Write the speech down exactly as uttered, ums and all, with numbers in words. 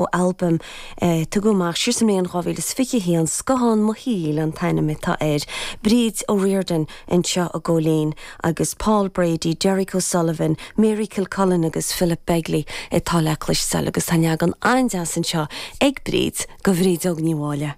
ó albam eh, tugadh amach siar sa mbliain dhá mhíle is fiche haon Scothán mo Shaoil an t-ainm atá air. Bríd O'Riordan anseo a Góilín agus Paul Brady, Derek O'Sullivan, Mary Kilcullen agus Philip Begley atá le cloisteáil agus tá leagan an-deas anseo ag Bríd go Bhrídeog Ní Mháille.